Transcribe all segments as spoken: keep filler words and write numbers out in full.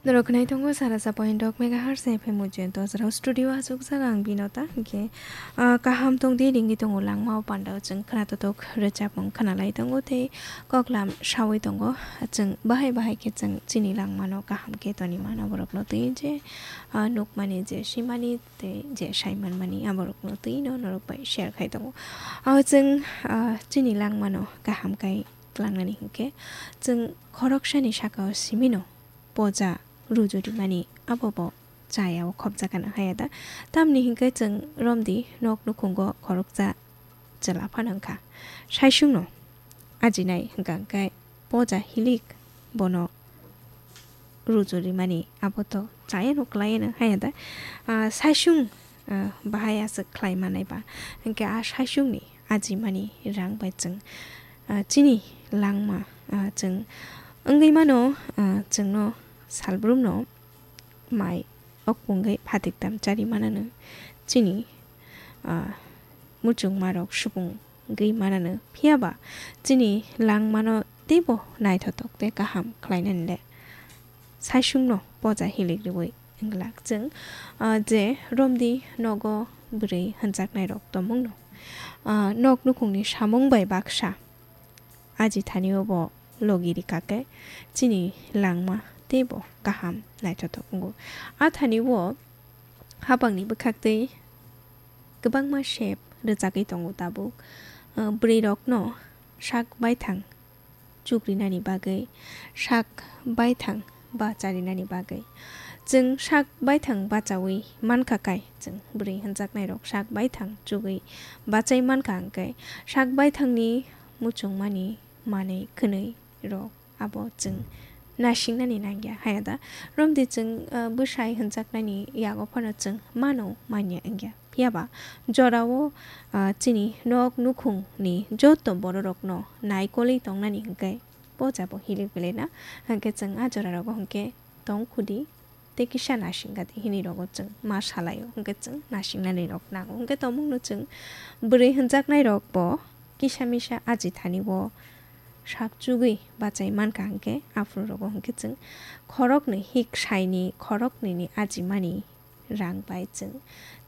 Roknai tongo sara sa point dok megahertz F M ujento jora studio asuk jaga ang Binota, hingke, ah, kaham tong di ringwi tongo langma o panda o chwng khna totok rwchapmung khna lai tongo tei koklam sawi tongo. Chwng bahai bahai khe chwng chini langmano kaham khe toni mano borokno twi je, ah, nukmani je simani tei je sai manmani aborokno twi no norok bai share khai tongo. O chwng, ah, chini langmano kaham kai tlangnani hinkhe chwng khoroksani saka o simino poja ruju rimani abo bo chaya o khopjakano haya da. Tamni hinkhe chwng romdi nok nukhungo khoroksa chwla phano wngkha. Saisungno ajinai hwnkha hwnkhe poja hilik bono ruju rimani abo to chayano kwlayano haya da. Ah, saisung, ah, bahai aswk khlai manai ba. Hinkhe a saisungni ajimani rang bai chwng, ah, chini langma, ah, chwng wngwi mano, ah, chwngno salbrumno mai okpungwi phatik tam chari manano chini, ah, muchungmarok supung wngwi manano. Phiya ba chini langmano teibo naithotok tei kaham khlainani le saisungno poja hilik rwui wng glak chwng, ah, je romdi nogo bwrwi hwnjaknairok tongmungno, ah, nok nukhungni samung bai baksa aji thani o bo logi rikha khe chini langma teibo kaham naithotok wngo. A thani o hapangni bwkhaktwi kwbangma sep rwchagwi tongo tabuk. Ah, bwrwirokno sak baithang chukrinani bagwi, sak baithang bacharinani bagwi. Chwng sak baithang bachaui mankha kai, chwng bwrwi hwnjaknairok sak baithang chugui bachai mankha hwnkhe, sak baithangni muchungmani manwi khwnwi rok abo chwng nasingnani nangya haya da. Romdi chwng, ah, bwsai hwnjaknani yago phano chwng mano manya wngya. Phiya ba jorao, ah, chini nok nukhungni joto bororokno naikolwi tongnani hinkhe poja bo hilik belai na. Hinkhe chwng a jorarogo hinkhe tong khudi tei kisa nasing gadi hinwi rogo chwng ma salaio, hinkhe chwng nasingnani rok nango. Hinkhe tongmungno chwng bwrwi hwnjaknairok bo kisa misa aji thani o sak chugwi bachai mankha hinkhe aphuru rogo hinkhe chwng khoroknwi hik saini khoroknwini ajimani rang bai chwng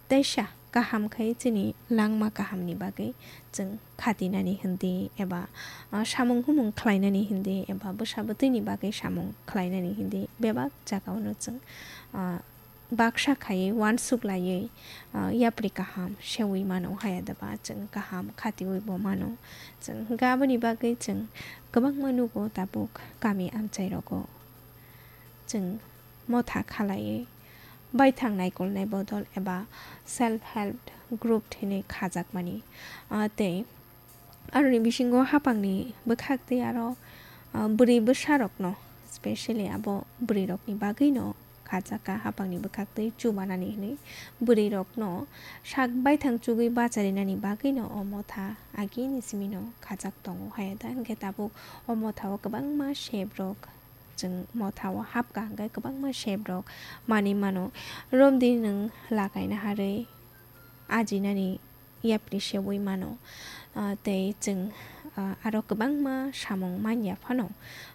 teisa kaham khai chini langma kahamni bagwi chwng khatinani hindi eba, ah, samung humung khlainani hindi eba bwsa bwtwini bagwi samung khlainani hindi bebak jagao no chwng, ah, baksa khaiwi uansuk laiwi, ah, yapri kaham sewi mano haya deba chwng kaham khatiwi bo mano. Chwng hinkhe aboni bagwi chwng kwbangma nugo tabuk kami amchai rogo. Chwng motha khalaiwi baithang naikolnai bodol eba self help group hinwi khajakmani. Ah, tei aroni bisingo hapangni bwkhaktwi aro, ah, bwrwi bwsarokno, specially abo bwrwirokni bagwino khajakha hapangni bwkhaktwi chubanani hinwi bwrwirokno sak baithang chugwi bacharinani bagwino o motha agini simino khajak tongo haya da. Hinkhe tabuk o mothao kwbangma sebrok chwng mothao hapkha hinkhe kwbangma sebrok manwi mano. Romdi nwng lakaina harwi ajinani yapri sewi mano. Ah, tei chwng, ah, aro kwbangma samung manya phano,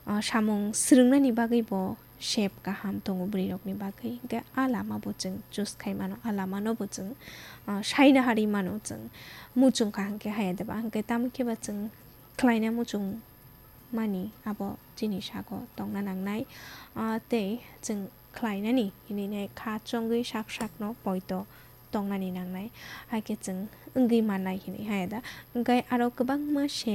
ah, samung swrwngnani bagwi bo sep kaham tongo bwrwirokni bagwi. Hinkhe a lama bo chwng choose khai mano, a lama no bo chwng, ah, saina harwi mano chwng. Muchung kha hinkhe haya deba, hinkhe tamo khe ba chwng khlaina muchung mani abo chini sago tongna nangnai. Ah, tei chwng khlainani hinwi nai kha chongwi sak sakno poito tongnani nangnai, hai khe chwng wngwi mannai hinwi haya da. Hinkhe aro kwbangma sep